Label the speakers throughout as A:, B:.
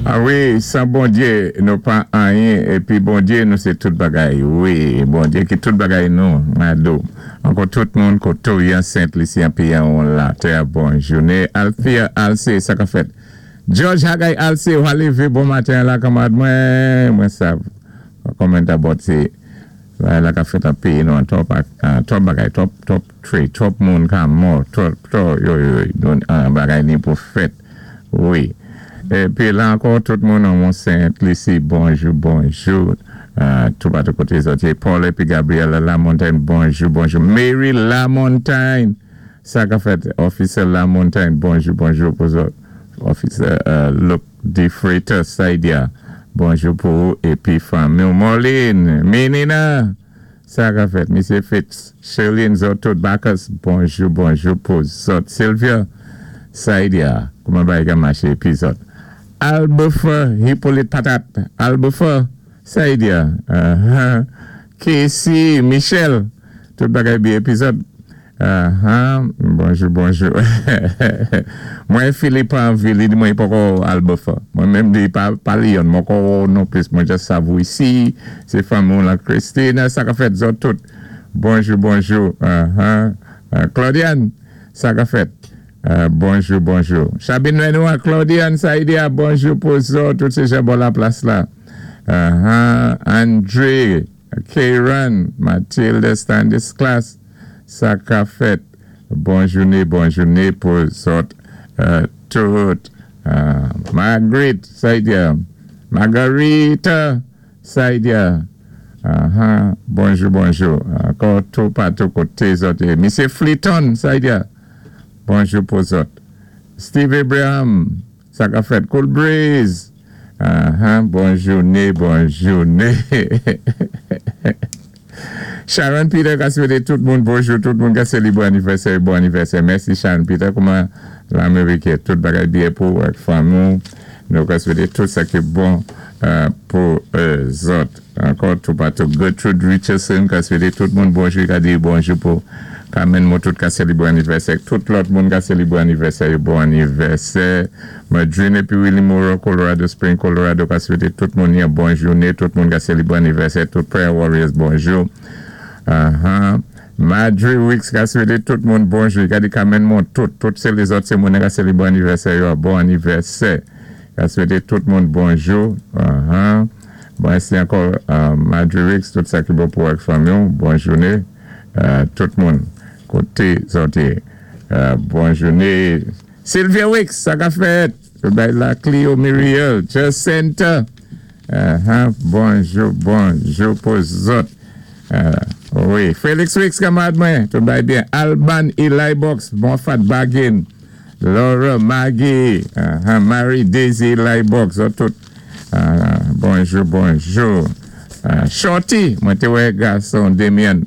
A: A wi, san Bondyé nou pa anyen épi Bondyé nou sé tout bagay. Wi, Bondyé ki tout bagay nou, Mado. Ankò tout moun koto yan Sent Lisi an péyi an won latè bon jouné. Althea Alcé, sa ka fèt? George Hagay Alcé, ou lévé bon maten la kanmarad mwen. Mwen sav comment about sé bagay la ka fèt an péyi nou an twòp twòp bagay, twòp twòp tray, twòp moun ka mò, twòp twòp yo yo yo bagay ni pou fèt. Wi. Épi la ankò tout moun an Mont Sent Lisi, bonjou bonjou. Tout patou koté zòt yé. Paul épi Gabriella Lamontagne, bonjou bonjou. Mary Lamontagne, sa ka fèt? Officer Lamontagne, bonjou bonjou pou zòt. Officer Luke DeFreitas Saidia, bonjou pou ou épi fanmi ou. Marlene, Menina, sa ka fèt? Misyé Fitz, Sherline, zòt tout Bacchus, bonjou bonjou pou zòt. Sylvia Saidia, kouman bagay ka maché épi zòt? Albefer Hippolyte Patate, Albefer Saidia, Casey Michel, tout bagay byen épi zòt? Bonjou bonjou. Mwen Philippe anvi li di mwen poko Albefer. Mwen menm di pa pali yon mwen ko non plis mwen just sav ou isi, sé fanmi ou lan Christine, sa ka fèt zòt tout? Bonjou bonjou. Claudiane, sa ka fèt? Bonjou bonjou. Chabine Lenoir, Claudiane Saidia, bonjou pou zòt tout sé jan bò la plas la. Andre, Karen, Mathilde Stanislas, sa ka fèt? Bon jouné, bon jouné pou zòt tout. Marguerite Saidia, Margarita Saidia, bonjou bonjou. Ankò tout patou koté zòt yé. Misyé Fleeton Saidia, bonjou pou zòt. Steve Abraham, sa ka fèt? Cool Breeze, bon jouné, bon jouné. Sharon Peter ka swété tout moun bonjou, tout moun ka sélibré anivèsè, bon anivèsè. Mèsi Sharon Peter, kouman Lamérik yé? Tout bagay byen pou ou ak fanmi ou. Nou ka swété tout sa ki bon pou zòt. Ankò tout patou Gertrude Richardson ka swété tout moun bonjou, i ka di bonjou pou Carmen Motout ka sélibré anivèsè, tout lòt moun ka sélibré anivèsè yo bon anivèsè. Madrine épi Willie Moreau, Colorado Spring, Colorado ka swété tout moun yon bon jouné, tout moun ka sélibré anivèsè, tout Prayer Warriors bonjou. Madre Wicks ka swété tout moun bonjou, i ka di Carmen Montout, tout sé lézòt sé moun ka sélibré anivèsè yo bon anivèsè. Ka swété tout moun bonjou. Mèsi ankò Madre Wicks, tout sa ki bon pou ou ak fanmi ou, bon jouné tout moun koté zòt yé. Bon jouné. Sylvia Wicks, sa ka fèt? Bay la Clio Muriel, Jacinta, bonjou, bonjou pou zòt. Wi, Felix Wicks, kanmarad mwen, tout bagay byen. Alban Eli Box, bon fat bargain. Laura Maggie, Marie Daisy Eli Box, zòt tout. Bonjou, bonjou. Shorty, mwen té wè gason Damien.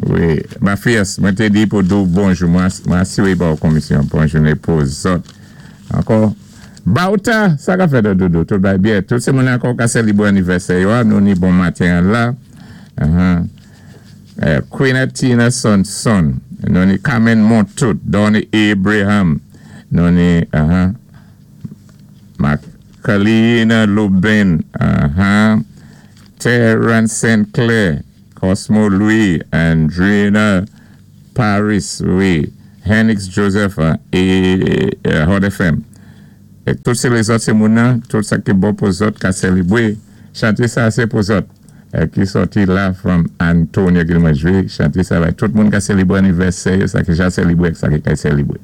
A: Wi, Mafias, mwen té di pou di ou bonjou, mwen asiré ba ou komisyon. Bon jouné pou zòt. Ankò, Bauta, sa ka fèt doudou? Tout bagay byen. Tout sé moun ankò ka sèlibré anivèsè yo a, nou ni bon maten an la. Queen Tina Sonson, nou ni Carmen Montout, Donny Abraham, nou ni Macaline Lubin, Terence St. Clair, Cosmo Louis, Andrina Paris, wi, Henix Joseph é Hot FM. Tout sé lézòt sé moun nan, tout sa ki bon pou zòt ka sèlibré. Chanté sa sé pou zòt ki sòti la from Antonio ki mwen jwé chanté sa bay tout moun ka sèlibré anivèsè yo, sa ki ja sèlibré ak sa ki kay sèlibré.